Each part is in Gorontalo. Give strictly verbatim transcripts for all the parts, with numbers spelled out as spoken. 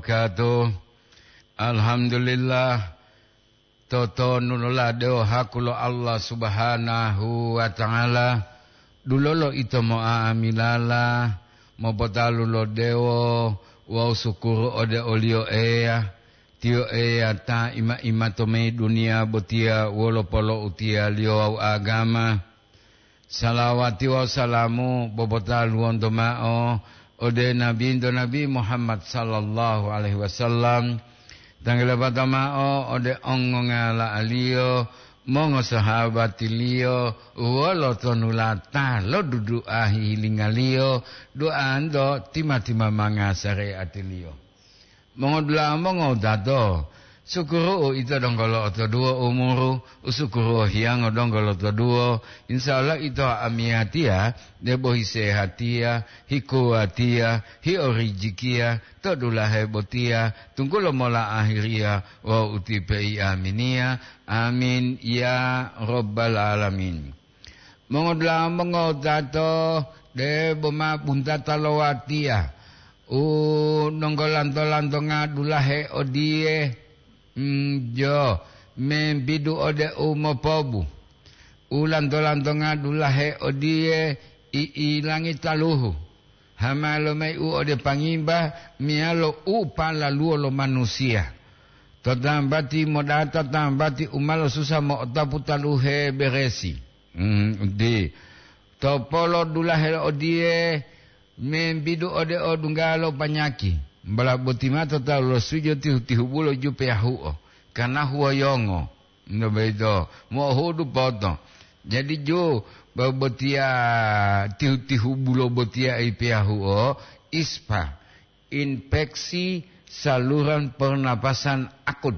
Wabarakatuh. Alhamdulillah, totonu loladewo haku lo Allah Subhanahu wa Ta'ala, dulolo ito mo'amilala, mopotalu lo dewo wawu sukuru ode o-Liyo Eya. Tiyo Eya ta ima-ima to mayi duniya botiya wolo polo'utiyaliyo wawu agama. Salawati wawu salamu bobotaluwonto mao ode Nabinto Nabi Muhammad sallallahu alaihi wasallam, tanggalabata mao ode ongongala'aliyo, mongosahabatiliyo, wolo tonulata lo dudu'a hihilinga-Liyo, duanto tima-timamanga sareatiliyo. Mongodula'a mongowutato, sukuru'u ito donggo lo'otoduwo umuru, usukuru'u hiyango donggo lotoduwo, insya Allah ito amiyatiya, debo hisehatiya, hikuwatiya, hiorijikiya, to dulahe botiya, tunggulo mola ahiriya wawu utipe iaminiya. Amin, ya Rabbal Alamin. Mongodula'a mongowutato, debo ma buntata lo watiya, u nonggolanto-lantonga dulahe odiye, mm, jo, membidu ode u mopobu. U lanto-lantonga dulahe odiye, i'ilangi taluhu. Hamalo mayi u ode pangimba meyalo u palaluwo lo manusiya. To tambati modata tambati u ma losusa mo'otapu taluhe beresi. Mm, di. Topolo dulahe odiye membidu ode odunggalo panyaki. Mbala boti mato tawu lo sujo tihu-tihubulo jupe yahu'o, kana huwoyongo. Nto boyito, mo'ohudu poto. Jadi ju, bo-, botiya tihu-tihubulo botiya ipiyahu'o, ispa, infeksi saluran pernapasan akut.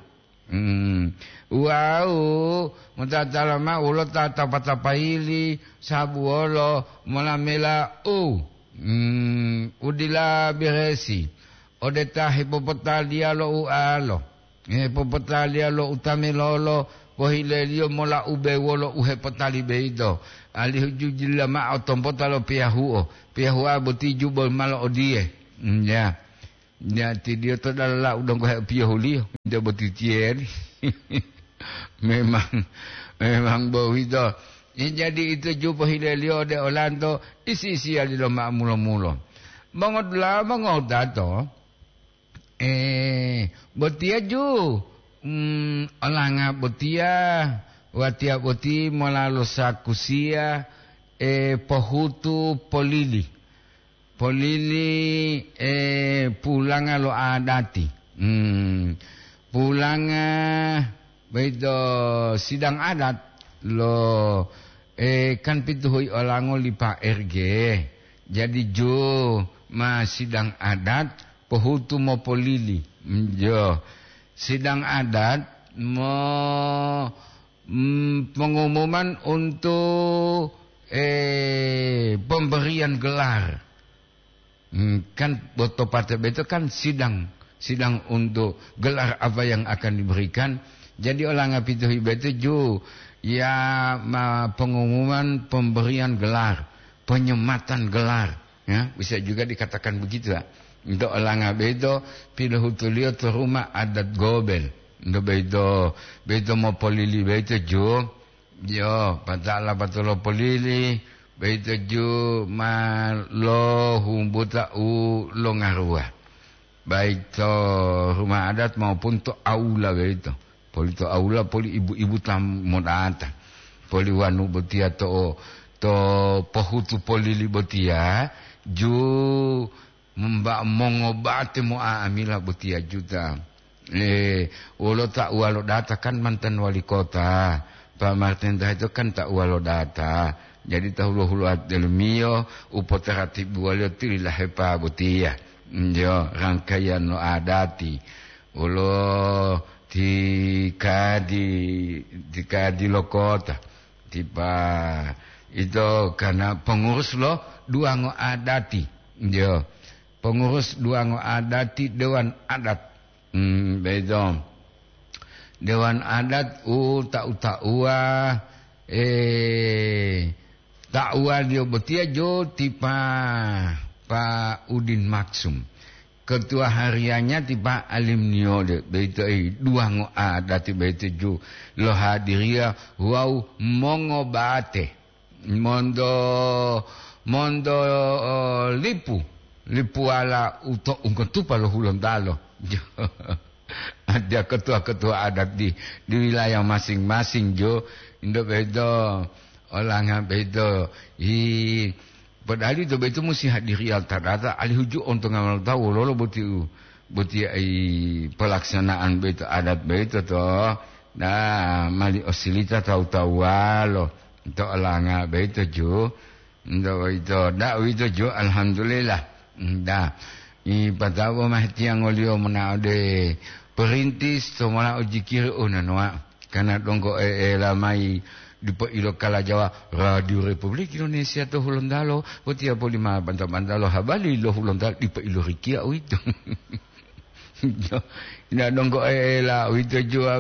Hmm. Wawu motatala mao wolo ta tapa-tapayili, sabuwolo, molamela u, hmm, u dila beresi, ode ta hepopotaliya lo ualo. Hepopotaliya lo utamilolo, pohileliyo mola ube wolo u hepotali boyito, alihu jujulila mao tompota lo piyahuo. Piyahuoa boti jubo malo odiye, "Nya, nya tidiyo to dalala u donggo hepiyohuliyo, nte boti tiyeri." Memang, memang boyito. Jadi ito ju pohileliyo ode olanto, isi-isiyaliyo mao mulo-mulo. Mongodula'a mongotato, Eh, botiya ju, mm, olanga botiya, watiya boti mola lo sakusiya, eh, pohutu polili. Polili, eh, pulanga lo adati. Hmm, pulanga boyito sidang adat lo, eh, kan pituhuyi olango li Pak R G. Jadi ju ma sidang adat pohutu mopolili. Jo, sidang adat mo-, mm, pengumuman untuk, eh, pemberian gelar. Hmm, kan botopate beto kan sidang, sidang untuk gelar apa yang akan diberikan. Jadi olanga pituhi beto ju ya ma pengumuman pemberian gelar, penyematan gelar. Ya, bisa juga dikatakan begitu, ya. Untuk olanga beto, pilohutuliyo to rumah adat Gobel. Untuk beto, beto mopolili beto ju. Yo, pata'ala patolo polili, boyito ju ma lohumbuta u longaruwa. Baik to rumah adat maupun to aula boyito. Poli to aula, poli ibu-ibu ta modata. Poli wanu botiya to, to pohutu polili botiya, ju Mba-, mongobate mo'a'amila botiya juta. Eh, wolo ta uwalo data kan mantan wali kota. Pak Martin Taheto kan ta uwalo data. Jadi ta hulo-huloa delomiyo u potaratibuwaliyo tililahepa botiya. Njo, rangkaiyan lo adati. Wolo ti kadi, ti kadi lo kota. Tipa ito karena pengurus lo duwango adati. Njo. Pengurus duwango adati dewan adat. Hmm, beto. Dewan adat u tau-tauwa, eh, tauwa dio botiya jo tipa Pa Udin Maksum. Ketua hariannya ti Pak Alim Niode, beito, eh, duwango adati beito ju lohadiriya wawu mongobate monto, monto, oh, lipu, lipuwala uto ungkotupa lo Hulontalo. Ada ketua-ketua adat di, di wilayah masing-masing, jo. Indo beito, olanga beito, hi, padahal ito beito musi hadiriya tadata, alihu ju ontonga lo tawu wololo boti u, boti ai pelaksanaan beito adat beito to. Nah, mali osilita tawu-tawuwalo to olanga beito ju. Nda uwito, nda uwito jo, alhamdulillah. Nda. I patabo mah tiyangoliyo mona ode perintis to mola ujikiri unanoa. Karena donggo e-, ela mai dipo ilo kala Jawa, Radio Republik Indonesia to Hulontalo, botiya poli ma banta-banta lo habali lo Hulontalo dipo ilo rikiya uwito. Jo, ina donggo ela uwito ju,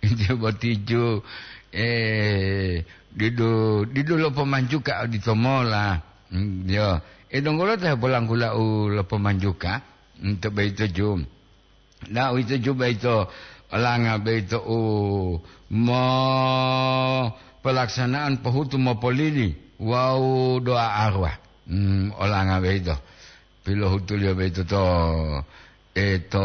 iti boti ju, eh, didu, didu lo pomanjuka odito mola. Mm, jo. E donggo lo ta polanggula u lo pomanjuka, mm, to beito ju. Na uwito ju beito, olanga beito u mo pelaksanaan pohutu mopolili wawu doa arwah. Mm, olanga beito. Pilohutuliyo beito to, eh, to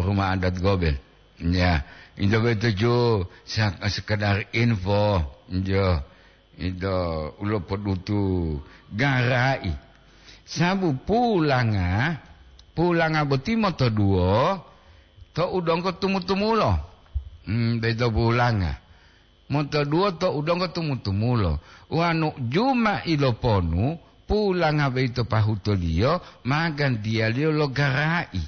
rumah adat Gobel. Ya, ito beito ju sa-, sekedar info, jo, ito ulo podutu garai. Sabu pulanga, pulanga boti motoduwo to udonggo tumu-tumulo. Hmm, beito pulanga. Motoduwo to udonggo tumu-tumulo. Wonu juma iloponu, pulanga boyito pahutoliyo ma gantiyaliyo lo gara'i.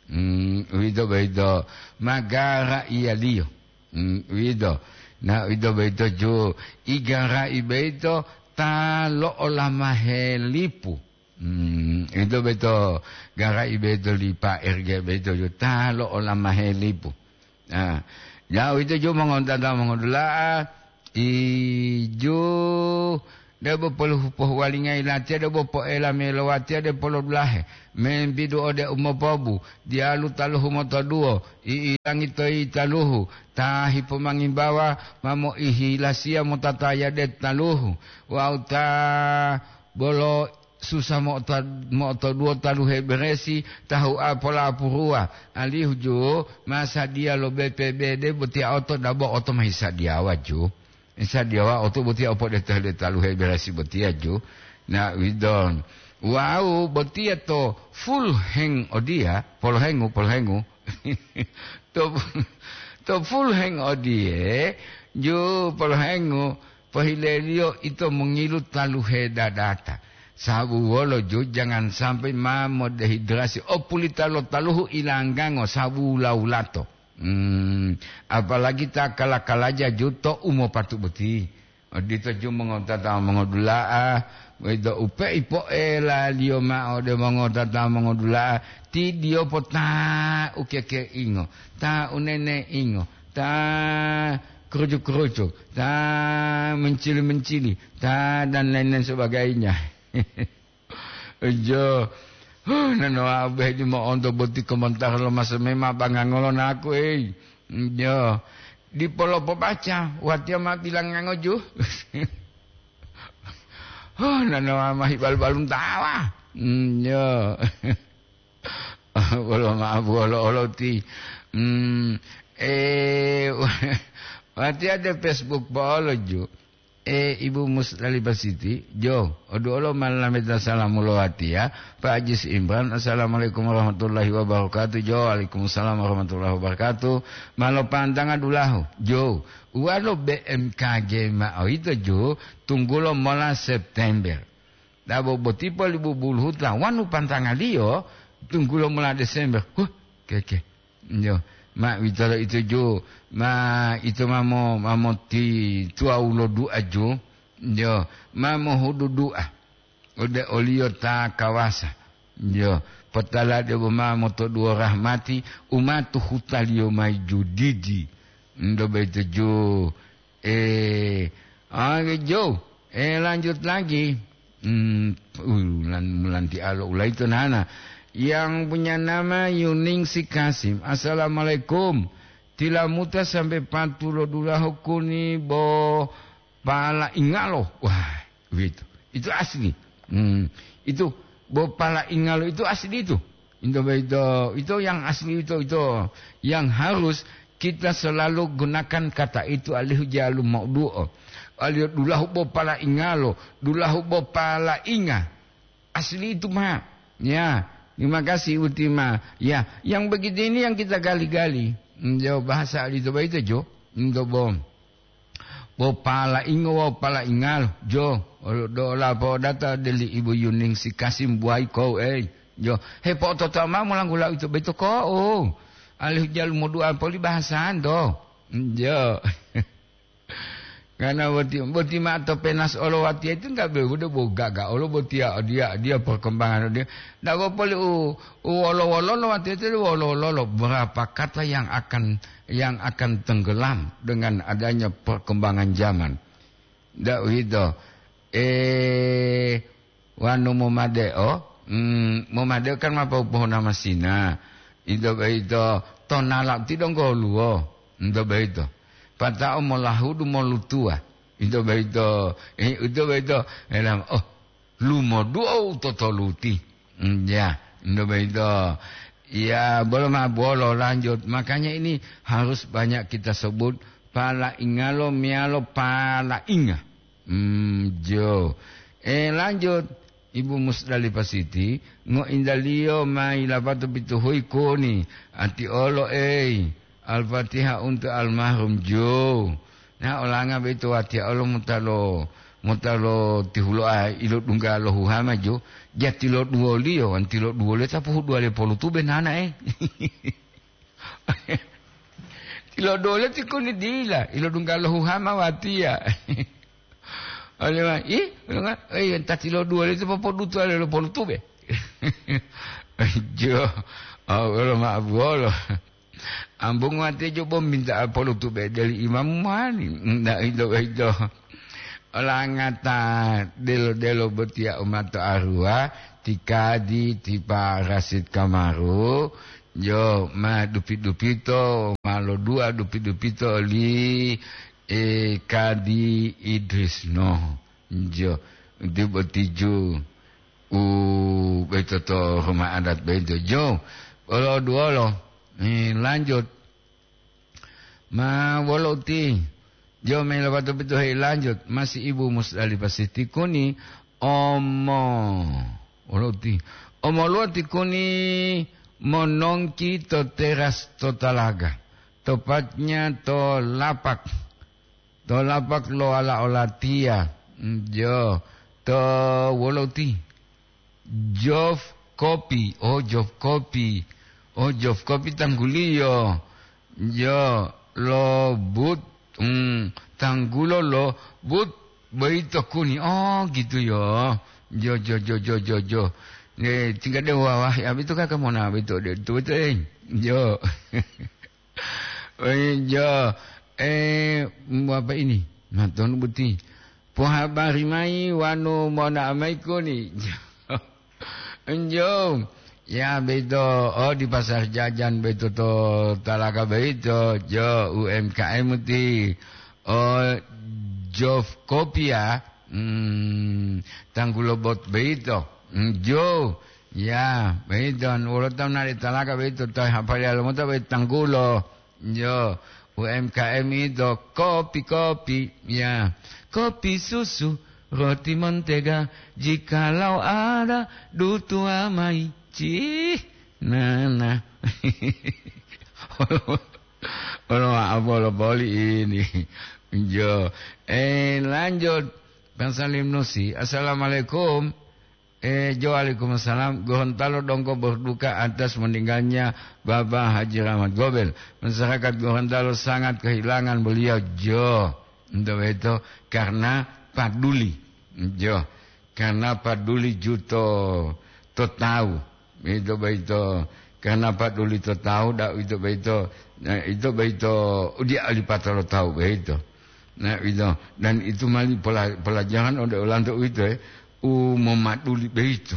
Hmm, uwito boyito ma gara'iyaliyo. Hmm, uwito. Na uwito boyito ju igara'i boyito ta lo'olamahe lipu. Hmm, ito beto gara'i beto li Pa R G beto ju ta lo'olamahe lipu. Ah, ja uwito ju mongontata mongodula'a, iju debo polu-, pohuwalingayi latiya debo po'ela melo watiya de polodulahe, membidu ode umopobu, diyalu taluhu motoduwo, i'ilangi toyi taluhu, ta hipomangimbawa ma moihilasiya motataya de taluhu, wawu ta bolo susa mo'ota-, mo'otoduwo taluhe beresi, tahu'a polapuruwa, alihu ju ma sadiya lo B P B D botiya oto dabo oto ma hisadiyawa ju. Hisadiyawa oto botiya opodetohe taluhe beresi botiya ju. Na widon. Wawu botiya to full heng odiya, polohengu, polohengu. To, to full heng odiye, ju polohengu, pohileliyo ito mongilu taluhe dadata. Sabu wolo ju jangan sampai ma modehidrasi opulita lo taluhu ilanggango sabu wula-wulato. Hmm, apalagi ta kala-kalaja ju to u mopatu boti. Odito ju mongotata mongodula'a, boyito u pe'ipo'elaliyo ma'o ode mongotata mongodula'a, ti diyopo ta ukekeingo, ta uneneingo, ta kerucuk-kerucuk, ta mencili-mencili, ta dan lain-lain sebagainya. Jo, huh, nanowa beh di mo'onto boti komentar lo masa mema bangangolo naku, ei. Jo, dipo lopobaca, watiya ma bilangango ju. Huh, nanowa ma hibalu-baluntawa. Hmm, jo. Wolo ma'abu olo-olo ti. Hmm, eh, watiya de Facebook po'olo ju. Eh, Ibu Musdalifah Siti, jo, oduolo ma lameta salamu lo watiya, Pak Ajis Imran, "Assalamualaikum warahmatullahi wabarakatuh." Jo, "Waalaikumsalam warahmatullahi wabarakatuh." Ma lopantanga dulahu, jo, uwalo B M K G ma'o yito jo, tunggulo mola September. Dabo boti poli bubuluhuta wanu pantangaliyo, tunggulo mola Desember. Huh, keke. Yo, ma uwitolo ito ju, ma ito ma mo-, ma moti tuwawu lo du'a ju, yo, ma mohudu du'a ode oliyo ta kawasa, yo, potala debo ma motoduwo rahmati u ma tuhutaliyo mayi ju didi, ndo boyito ju, eh, ah, jo, eh, lanjut lagi. Hmm, uh, lan-, mulantialo ulaito nana. Yang punya nama Yuningsi Kasim. Assalamualaikum. Tilamuta sampai patu lo dulahu kuni bo pala ingalo. Wah, begitu. Itu asli. Hmm, itu bo pala ingalo itu asli itu. Itu begitu. Itu yang asli itu, itu yang harus kita selalu gunakan kata itu alihu jalu mau duo. Alihu dulahu bo pala ingalo, dulahu bo pala inga. Asli itu, Pak. Ya, terima kasih Utima. Ya, yang begitu ini yang kita gali-gali. Njo bahasa di coba itu jo. Njo bom. Bo pala ingo, bo pala ingal. Jo, olo do la po data deli Ibu Yuning si Kasim buai ko, eh. Jo, he po toto ma mulanggula itu beto ko. Oh. Alih jalu modua poli bahasan do. Jo. Karena boti, boti ma'o to penas olo watiya itu enggak be-, udah bo gaga olo botiya dia, dia perkembangan dia. Ndak poli u, u wolo-wolo lo watiya itu wolo-wolo lo. Berapa kata yang akan, yang akan tenggelam dengan adanya perkembangan zaman. Ndak begitu. Eh, Wanu momadeo, mm, momadeo kan ma popohuna masina. Ito boyito tonala ti donggo oluwo. Ito boyito. Pata'o molahudu molutuwa. Ito boyito, eh, ito boyito, elam, oh, lumoduo u totoluti. Mm, ya, ito boyito. Ya, bolo ma bolo lanjut. Makanya ini harus banyak kita sebut pala ingalo mialo pala inga. Hmm, jo. Eh, lanjut. Ibu Musdalifah Siti, ngointaliyo ma yilapato pituhuyi kuni, ati olo ei, Al-Fatihah untuk almarhum jo. Nah, olanga boyito watiya olo mutalo, mutalo tihuloa ilodungga lo huhama jo, jati lo duwoliyo, wanti lo duwoliyo tapuhu duwaliyo polu tube nana, eh. Tilodole ti kuni dila, ilodungga lo huhama watiya. Oleh ma-, ih, oleh ma-, eh, enta tilodole ti popodutu ale lo polutube. Jo, oh, lo ma buolo. Ambung watiya jo bom minta polutube deli imam mani. Ndak ito, ito. Olangata delo-delo botiya umato aruwa, ti kadi, ti Pa Rasid Kamaru, jo, ma dupi-dupito, ma lodua dupi-dupito oli, eh, Kadi Idris Noh. Jo, ti botiju u boyito to rumah adat boyito. Jo, olo duolo, eh, lanjut. Ma wolo uti, jo melo patu pitu hei lanjut, masi Ibu Musdalifah Siti kuni, omo, wolo uti, omoluwo ti kuni monongki to teras to talaga, topatnya to lapak, to lapak lo ala olatiya, jo, to wolo uti. Jof Kopi, oh, Jof Kopi. Oh, Jof Kopi tangguliyo. Yo, lo but, hmm, tanggulo lo but boyito kuni. Oh, gitu yo. Jo, jo, jo, jo, jo, jo. Eh, tinggal de wawah, ya, itu kakak mau nabi itu, de, itu, itu, eh. Jo. Oh, iya, eh, apa ini? Nah, tuan boti. Pohabari mai wanu mona amai kuni. Enjo. Ya, beto. Oh, di pasar jajan beto to talaga beto. Jo, U M K M ti. Oh, Jof Kopi ya. Hmm, tanggulo bot beto. Enjo. Ya, beto. Wolo taun nari talaga beto. Tahu hafal ya, lo mau tahu beto tanggulo. Yo, U M K M itu kopi-kopi, ya. Kopi susu, roti mentega, jikalau ada dutua mai. Cih, nana. Olo apa lo boli ini. Jo, eh, lanjut. Bang Salim Nusi, assalamualaikum. Eh, jo, waalaikumsalam. Gorontalo donggo berduka atas meninggalnya Bapak Haji Rahmat Gobel. Masyarakat Gorontalo sangat kehilangan beliau, jo. Untuk itu, karena paduli. Jo. Karena paduli juto to tahu. Itu beito. Karena paduli to tahu, dak itu beito. Nah, itu beito, dia alipatalo tahu beito. Nah, itu. Dan itu mali pela-, pelajaran ode olanto itu, eh. U memaduli beito.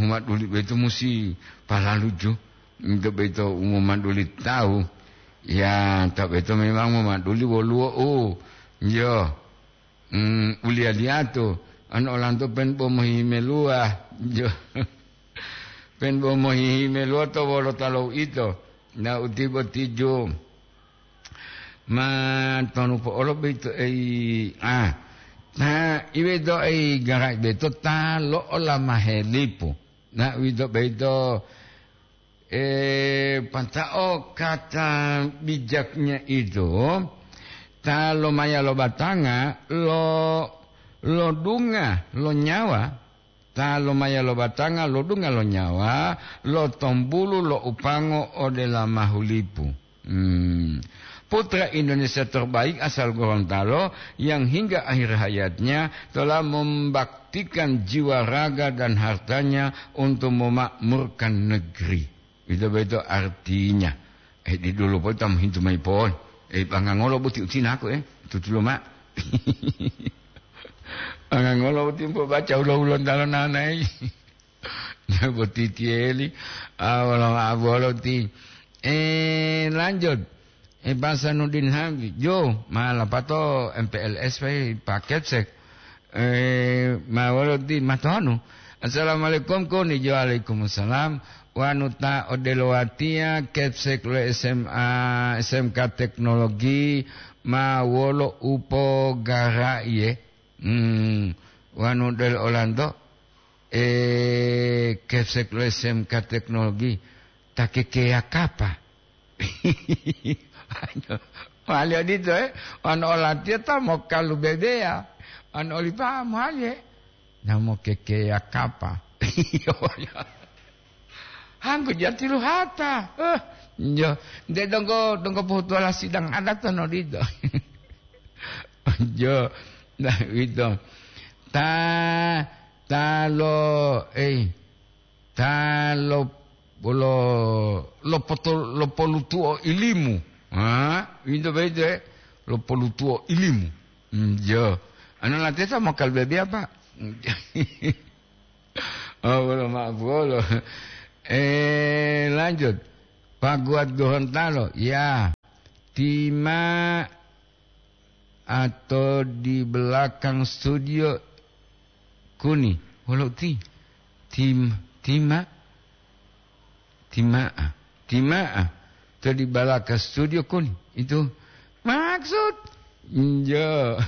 Umaduli boyito musi palaluju, ito boyito u momaduli tawu. Ya, ta boyito memang momaduli woluwo u, yo, mm, uliya-liyato, anu olanto pen bo mohihimeluwa, yo. Pen bo mohihimeluwa to wolota lo uito. Na uti boti ju. Ma tonu po'olo boyito ei, ah, ta iwedo ei gara'i boyito ta lo'olamahe lipu. Na uwito boyito, eh, pata'o kata bijaknya itu, ta lomaya lo batanga lo, lodunga lo nyawa, ta lomaya lo batanga lodunga lo nyawa, lo tombulu lo upango ode lamahulipu. Hmm. Putra Indonesia terbaik asal Gorontalo yang hingga akhir hayatnya telah membaktikan jiwa, raga, dan hartanya untuk memakmurkan negeri. Itu betul artinya. Eh, di dulu pun tamu hintu mai pon. Eh, bangangolo buti utinako, eh. Tutulo, Mak. Bangangolo buti mpo baca ulo-ulo ntalo nanai. Boti tieli. Ah, wala ma'abolo ti. Eh, lanjut. Eh, Pak Sanudin Hamdi. Jo, malapato M P L S pai paket sek. Eh, ma wolo ti matonu. Assalamualaikum, koni jo. Waalaikumsalam. Wanu ta odelo watiya, kepsek lo S M A, S M K teknologi, ma wolo upogara'iye. Hmm, wanu del olanto, eh, kepsek lo S M K teknologi, ta kekeya kapa. Mali odito, eh, wanu olatiya ta mokalu bebeya, wanu olipa'a mali, eh. Namo kekeya kapa. Hanggu jati luhata. Eh, jo, nde donggo, donggo pohutuwala sidang adat tono dito. Jo, nah, wito. Ta, ta lo, eh, ta lo, lo, lo poto-, lo polutuo ilimu. Ha? Wito baitu, eh? Lo polutuo ilimu. Hmm, jo. Anu lateta mokal bebi apa? Oh, belum maaf, belum. Eh, lanjut. Pak Guat Gorontalo, ya. Tima atau di belakang studio kuni. Wolo ti. Tim, tima. Tima'a. Tima'a. To di belakang studio kuni. Itu maksud. Njo.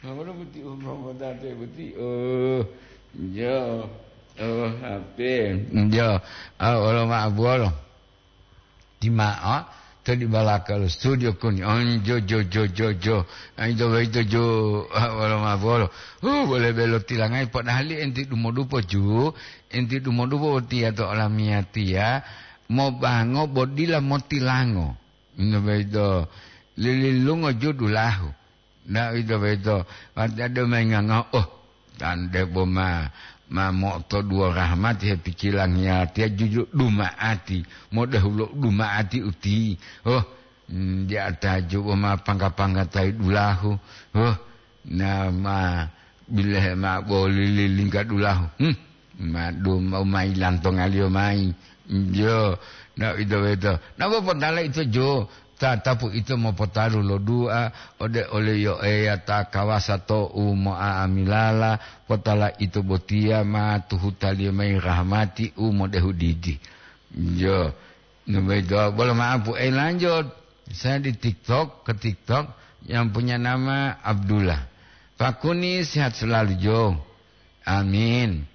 Mama boti umroh motate boti. Oh, njo. Oh, H P. Njo. Ah, wolo ma'abuwolo. Tima'a, to di balaka lo studio kuni. Oh, njo, jo, jo, jo, jo. Ah, ito, ito, jo. Ah, wolo ma'abuwolo. Uh, boleh belo tilangai. Padahal enti dumodupo, ju. Enti dumodupo tiya to olamiyatiya. Mobango bo dila motilango. Ino boyito, lililungo ju dulahu. Na ito boyito, watiya deu mayi ngangaho, oh, tande bo ma, ma mo'otoduwo rahmati hepikilangiyatiya juju duma'ati, modehulo duma'ati uti. Oh, mm, di ataju bo ma pangga-pangga tayi dulahu. Oh, na ma bilehe ma'o boli lilingga dulahu. Hmm. Ma duma mayi lantongaliyo mayi. Njo, na ito boyito. Nabo potala ito jo, tatapu ito mopotalu lo dua ode oli Yo Eya ta kawasa to'u mo'a'amilala, potala ito botiya ma tuhutaliyo mayi rahmati u modehu didi. Njo, na boyito, bolo ma'apu, eh, lanjut. Saya di TikTok, ke TikTok, yang punya nama Abdullah. Pak Kuni sehat selalu, Jo. Amin.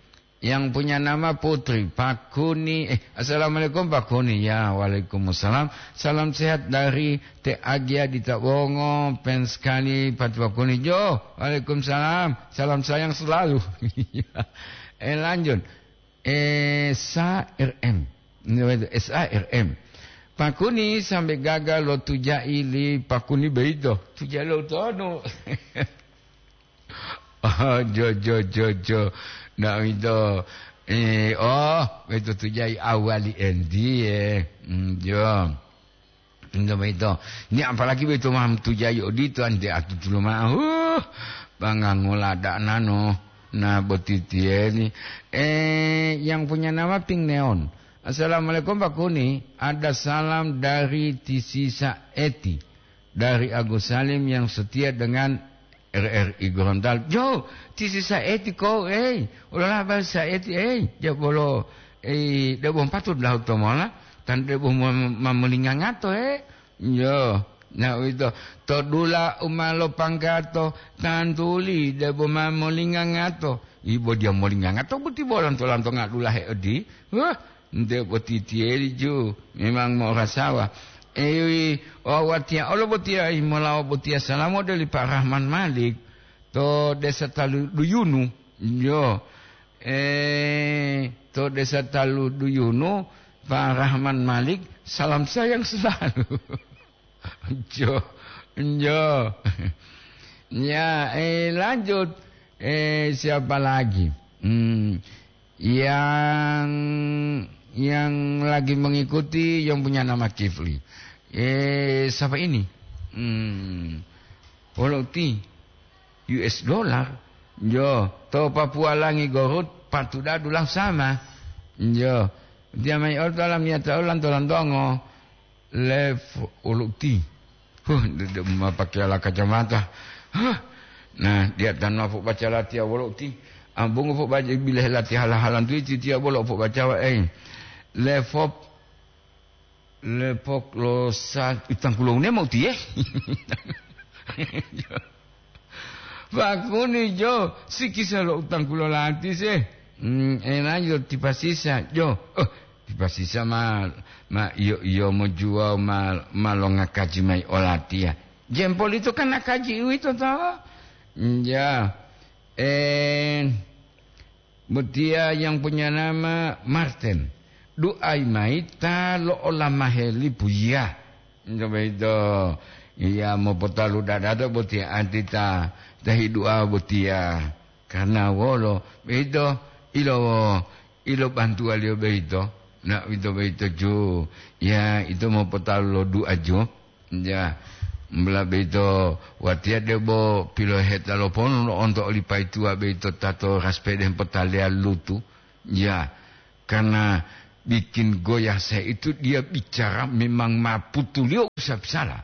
Yang punya nama Putri, Pak Kuni. Eh, assalamualaikum, Pak Kuni. Ya, waalaikumsalam. Salam sehat dari Te Agia di Tabongo, fans sekali, Pak, Pak Kuni. Jo, waalaikumsalam. Salam sayang selalu. Eh, lanjut. Eh, S A R M. Ini betul, S A R M. Pak Kuni sampai gagal lo tujai li Pak Kuni beito. Tujai lo tonu. Oh, jo, jo, jo, jo. Ndak itu. Eh, oh, itu tujai awali endi, eh. Hmm, jo. Ndak itu. Ini apalagi beito mam tujai odito ante atutulo ma'o. Huh, bangga ngola dak nano. Nah, boti tiyeni. Eh, yang punya nama Ping Neon. "Assalamualaikum, Pak Kuni. Ada salam dari Tisisa Eti, dari Agus Salim yang setia dengan R R I Gorontalo." Jo, Tisisa Eti ko, eh. Ulola ba Sa Eti, eh. Ja bolo, eh, debo patut lahu to mola. Tan debo ma-, ma-, mamolingangato, eh. Yo, na uwito, to dula u ma lopanggato, tantuli debo ma molingangato. Ibo dia molingangato, boti bo lanto-lantonga dulahe odi. Wah, nte boti tiyeli ju, memang morasawa. Ewi, o watiya olo botiya, molawo botiya salamo doli Pak Rahman Malik, to Desa Talu Duyunu. Yo, eh, to Desa Talu Duyunu, Pak Rahman Malik, salam sayang selalu. Jo, jo. Ya, eh, lanjut. Eh, siapa lagi? Hmm, yang, yang lagi mengikuti yang punya nama Kifli. Eh, siapa ini? Hmm, Poloti. U S dollar. Jo, to Papua langi gorut, patuda dulahu sama. Jo, dia mai olo to alam yata olanto-lantongo. Lef uluti. Huh, de-, de-, ma pakai ala kacamata. Huh. Nah, dia tanwa pu baca latiya wolo uti. Ambungu pu baca bileh latiya hala-halan tu iti tiya bolo pu bacawa, eh. Lefop, lepok lo sa-, utang kulo ne mau tiye. Pakuni jo, sikisa lo utang kulo lati se. Hmm, enajo tipasisa jo. Oh, tipasisa ma, ma iyo, iyo mojuwa ma, ma longa kaji mai olatiya. Jempol itu kan nakaji uwito to? Ya. Eh, Botiya yang punya nama Martin. Du'ai mayi ta lo'olamahe lipu, ya. Coba itu. Iya, mopotalu dadato botiya anti ta, ta hidu'a botiya. Karena wolo, beito, ilo, ilo bantuwaliyo beito. Na, ito beito ju. Ya, ito mopotalu lo du'a ju. Ya, mula beito watiya debo piloheta lo ponu lo'onto oli paituwa beito tato raspede hempotaleya lutu. Ya, karena bikin goyah saya itu dia bicara memang maputuliyo usap salah.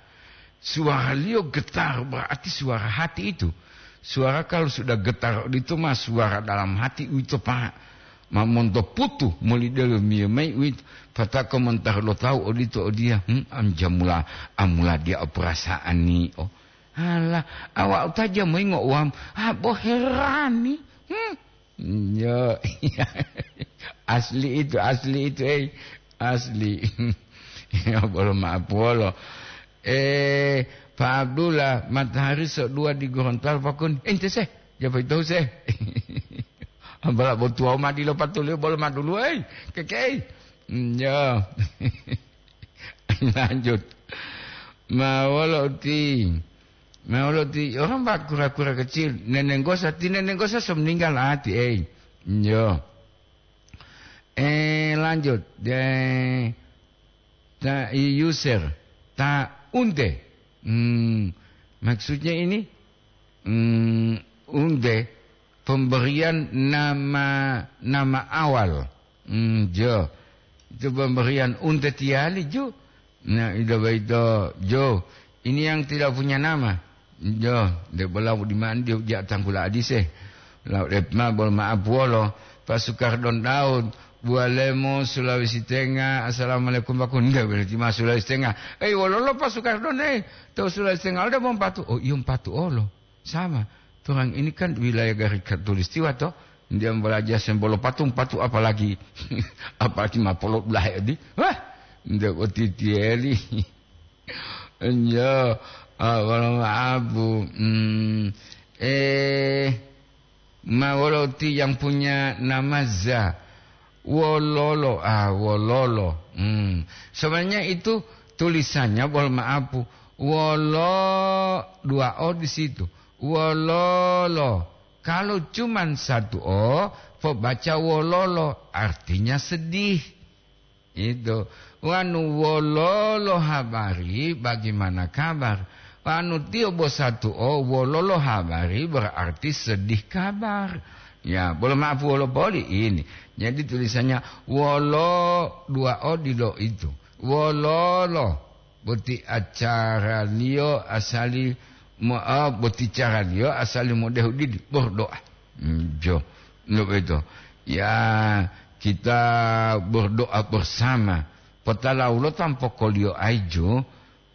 Suaraliyo getar berarti suara hati itu. Suara kalau sudah getar itu mah suara dalam hati itu, Pak. Ma monto putu moli delomiyo mayi uwito, patako montara lo tawu odito odiya, hmm, am jamula, amula dia o perasaan ni, oh. Alah, awa'u ta jamoyingo uwam, ah, bo herani, hmm. Yo, asli itu, asli itu, eh, asli. Ya, bolo maaf, bolo. Eh, Pak Abdullah, matahari so dua di Gorontalo, Pak Kun. Ente seh, japa itu seh. Bala botuwau ma dilo patuliyo bolo ma duluwei, kekei. Njo. Lanjut. Ma wolo uti, ma wolo uti, orang ba kura-kura kecil, nenenggosa, ti nenenggosa so meninggal ati, ei. Njo. Eh, lanjut. De, ta, i, user. Ta unte. Hmm, maksudnya ini, hmm, unte, pemberian nama, nama awal. Hmm, jo. Itu pemberian unte tiyali, jo. Nah, ito boyito, jo. Ini yang tidak punya nama. Jo, de bola di mandi ja tanggula adise. Lau dep ma bol maaf wolo. Pak Sukardon Daud, Bualemo, Sulawesi Tengah. Assalamualaikum, Pak Kun. Nggak boleh cuma Sulawesi Tengah. Eh, wololo Pak Sukardon, eh. Tahu Sulawesi Tengah ada mau patu. Oh, iya patu olo. Sama. Orang ini kan wilayah garis khatulistiwa, toh. Dia belajar sembolo patung, patu apalagi, apalagi mapolo belah di. Wah, ndak otitieli. Enjo, ah, wolo maapu. Hmm. Eh, ma wolo ti yang punya nama Za. Wololo, ah, wololo. Hmm. Sebenarnya itu tulisannya, wolo maapu. Wolo, dua O di situ. Wololo. Kalau cuman satu O, pobaca wololo, artinya sedih. Itu. Wanu wololo habari, bagaimana kabar? Wanu tiyo bo satu O, wololo habari berarti sedih kabar. Ya, bolo maapu wolo poli ini. Jadi tulisannya wolo dua o dilo itu. Wololo boti acaraliyo asali mo-, ah, boti caraliyo asali modehu didi, berdoa. Hmm, jo, lo beto. Ya, kita berdoa bersama. Potalawulo tampokoliyo aijo,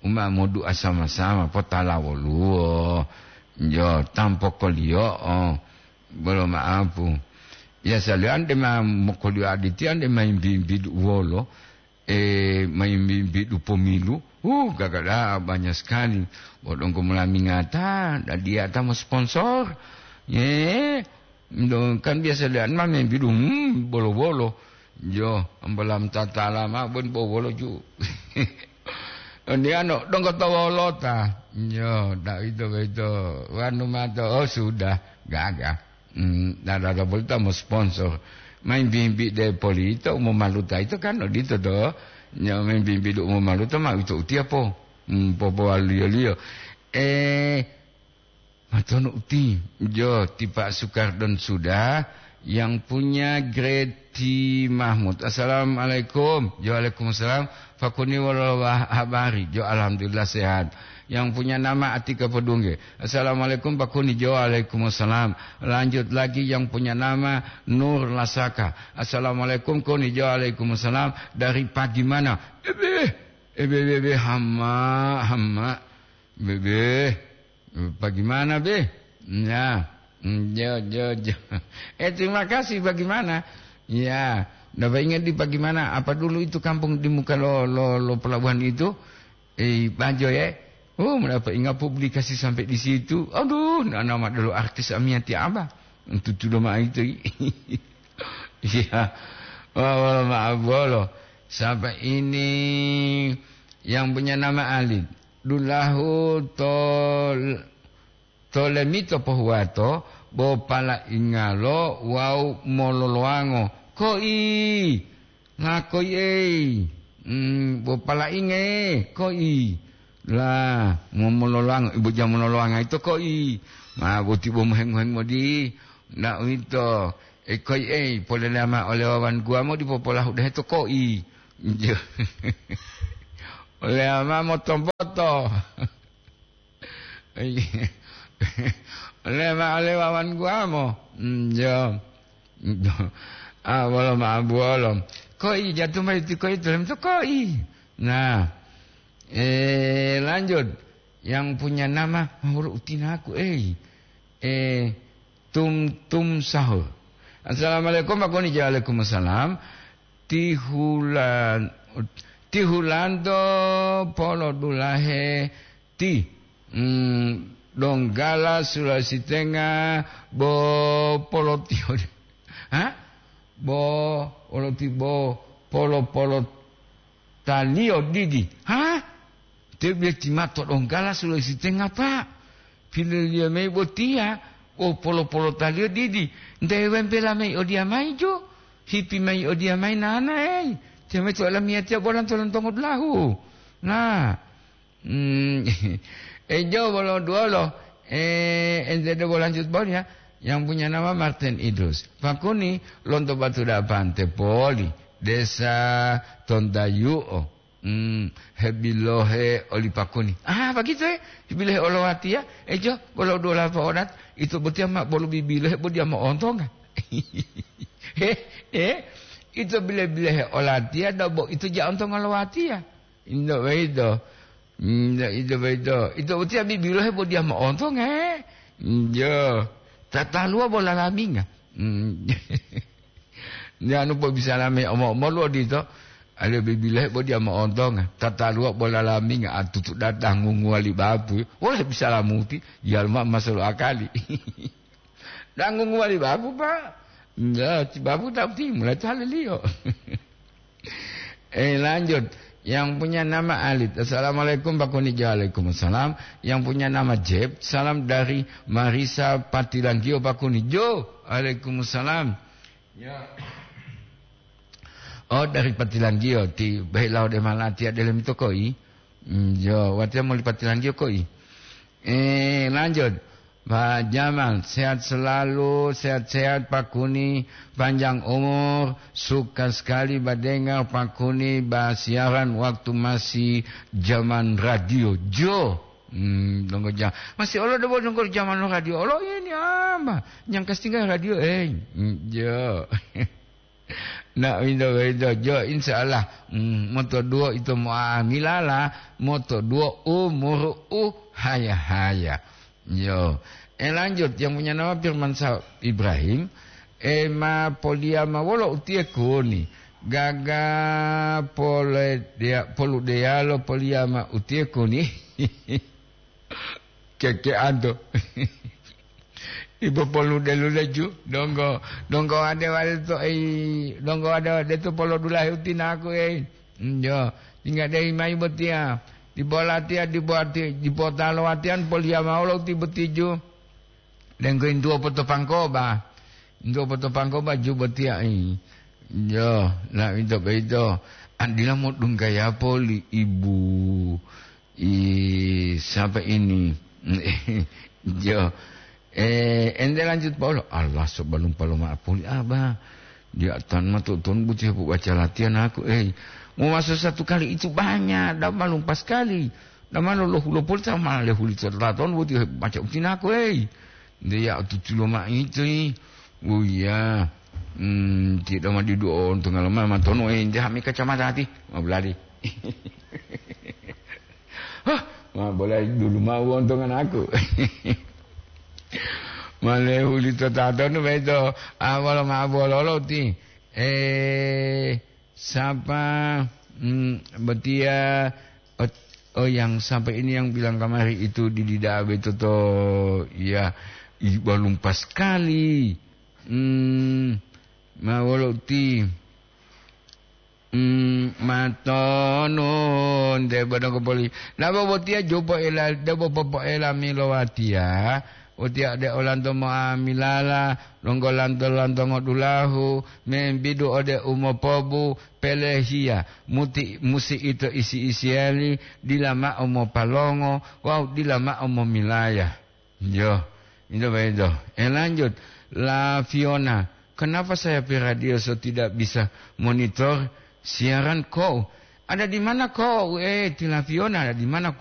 uma modu'a sama-sama, potalawoluwo. Jo, tampokoliyo, oh, bolo maapu. Ya, saliyo ande ma mokoliyo aditi, ande ma imbi-imbi duwolo, eh, ma imbi-imbi du pomilu. Uh, gagada banyak sekali. Bodongko mulamingata, dadiata mo sponsor. Ye, do, kan biasa lian ma membi du, hmm, bolo-bolo. Jo, ambalam tatala ma bon bowolo ju. Oni ano, donggo to wolota. Jo, da ito beto. Wanu mato, oh, sudah, gaga. Hmm, da, da, da, bolita mo sponsor. Main bimbi de polito, mo maluta ito kan, odito do. Nyo main bimbi do mo maluta, ma ito utiapo. Hmm, popo aliyo-liyo. Eh, Matonu uti, jo, ti Pak Sukardon sudah, yang punya Greti Mahmud. Assalamualaikum. Jo, waalaikumsalam. Pakuni wolo wah-, habari. Jo, alhamdulillah sehat. Yang punya nama Atika Podungge. Assalamualaikum, Pakuni. Jo, waalaikumsalam. Lanjut lagi yang punya nama Nur Lasaka. Assalamualaikum, Kuni. Jo, waalaikumsalam. Dari pagi mana? Ebe, ebe, ebe, hama, hama. Bebe. Bagaimana, Be? Ya, mm, jo, jo, jo. Eh, terima kasih, bagaimana? Ya, dapat ingat di bagaimana? Apa dulu itu kampung di muka lo, lo, lo pelabuhan itu? Eh, Bajo, ya? Oh, mendapat ingat publikasi sampai di situ. Aduh, nana ma dulu artis Amiyati Abah. Tutu doma itu. Iya. Wah, wah, maaf, bolo. Sampai ini yang punya nama Alid. Dulahu tol-, tolemito pohuwato, bo palaingalo wawu mololowango. Koi! Lakoi ei! Mm, bo palainge, koi! La, mo-, mololowango, ibu jam mololowango ito koi! Ma boti bo moheng-moheng modi, na uwito, e koi ei, polelama ole wawan guwamo dipo polahu dehe to koi! Oleama moto-moto. Ole ma ole wawan guwamo. Mm, jo. Ah, wolo ma buwolo. Koi jatu mayi ti koi, tulem to koi. Nah. Eh, lanjut. Yang punya nama, ah, wolo utinaku, eh. Eh, Tum Tum Sahur. Assalamualaikum, Pak Koni. Waalaikumsalam. Tihulan-, Tihulanto polo dulahe ti, mm, Donggala Sulawesi Tengah bo polotio. Ha? Bo poloti bo polo polo taliyo didi. Ha? Te bia timato Donggala Sulawesi Tengah, Pak. Pililiyo mayi botiya, bo polo-polotaliyo didi. Nte wempela mayi odiyamayi jo, hipi mayi odiyamayi nanae. Tiyo mayi to olamiyatiya bolanto lontongo dulahu. Nah, mm, ejo bolo duwolo, eh, ente debo lanjut bol ya. Yang punya nama Martin Idrus. Pakuni lonto Batu Dapan te poli, Desa Tontayu'o. Hmm, hebilohe oli Pakuni. Ah, begitu, eh? Hebilohe olowatiya, ejo, bolo dola po'odat, ito botiya ma bolo bibilohe bo diya mo'ontonga. He, he, ito bile-bilehe olatiya, do bo ito ja ontonga lowatiya. Indo boyito. Indo, ito boyito. Ito botiya bibilohe bo diya mo'ontonga, he? Indo. Tataluwa bo lalaminga. Hmm. Nde anu po bisala me omo-omolu odito, ale bibilohe bo diya mo'ontonga, tataluwa bo lalaminga, atutu datang ngunguwa li bapu, wole bisala muti, yalma masolo akali. Dang ngunguwa li bapu, Pak. Nda, ti bapu ta uti, mulai taliliyo. Eh, lanjut. Yang punya nama Alit. Assalamualaikum, Pak Koni. Waalaikumsalam. Yang punya nama Jeb. Salam dari Marisa Patilanggio, Pak Koni. Jo, waalaikumsalam. Ya. Oh, dari Patilanggio, ti behilau de malatiya delem to koi. Mm, yo, watiya moli Patilanggio koi. Eh, lanjut. Pak Jamal, sehat selalu, sehat-sehat Pak Kuni, panjang umur, suka sekali badengar Pak Kuni basiaran waktu masih zaman radio. Jo. Hmm, donggo ja-, masih olo debo donggo zaman radio. Olo ini apa? Yang kastingga radio, eh. Hmm, jo. Na, winto, winto, jo, insya Allah, mm, moto duo ito mo'amilala, moto duo umuru u haya-haya. Yo. Eh, lanjut, yang punya nama Firman Sa-, Ibrahim, eh, ma poliyama wolo utiye kuni, gaga pole dea-, poludeyalo poliyama utiye kuni. Kekeanto. Ibo polu delu leju, donggo, donggo ade wale to ei, donggo ade wale to polo dulahe utinaku ei. Njo, tingga dei mai botiya. Dipo latiya, dipo ati-, dipo talo watiyan poliyama wolo uti botiju. Denggo intuwo poto pangkoba. Intuwo poto pangkoba ju botiya ei. Njo, na ito boyito. Andila modunggaya poli ibu. I, siapa ini? Jo. Eh, ente lanjut, Paulo. Allah, sobalum paloma apoli, Abah. Dia tan ma tu'utun buti hepu baca latihan aku, eh. Mau masuk satu kali itu banyak, dan malum pas sekali. Dan malu lohu lopoli sama lehuli tataton buti baca utinaku, eh. Dia tutulo ma itu, eh. Oh iya. Hmm, tidak ma didu on tengah lemah ma tono, eh, dia hami kacamata hati. Ma beladi. Hah, ma boleh dulu mau wontongan aku. Malehu lito tatonu beto, ah, wolo ma bololo ti. Eh, sapa, hmm, botiya, ot-, oh, yang sampai ini yang bilang kamari itu di dida beto to, ya, i-, balum pas sekali. Hmm, ma wolo ti. Hmm, matonun, debo donggo poli. Nabo botiya jopo ela, debo popoela milo watiya. Watiya de olanto moamilala, donggo lanto-lanto ngodulahu, membidu ode umopobu, pelehiya, muti, musi ito isi-isiyali, dila ma'o mopalongo, wawu dila ma'o momilaya. Yo, itu begitu. Eh, lanjut. La Fiona, kenapa saya pi radio so tidak bisa monitor siaran kau? Ada di mana kau? Eh, ti La Fiona, ada di mana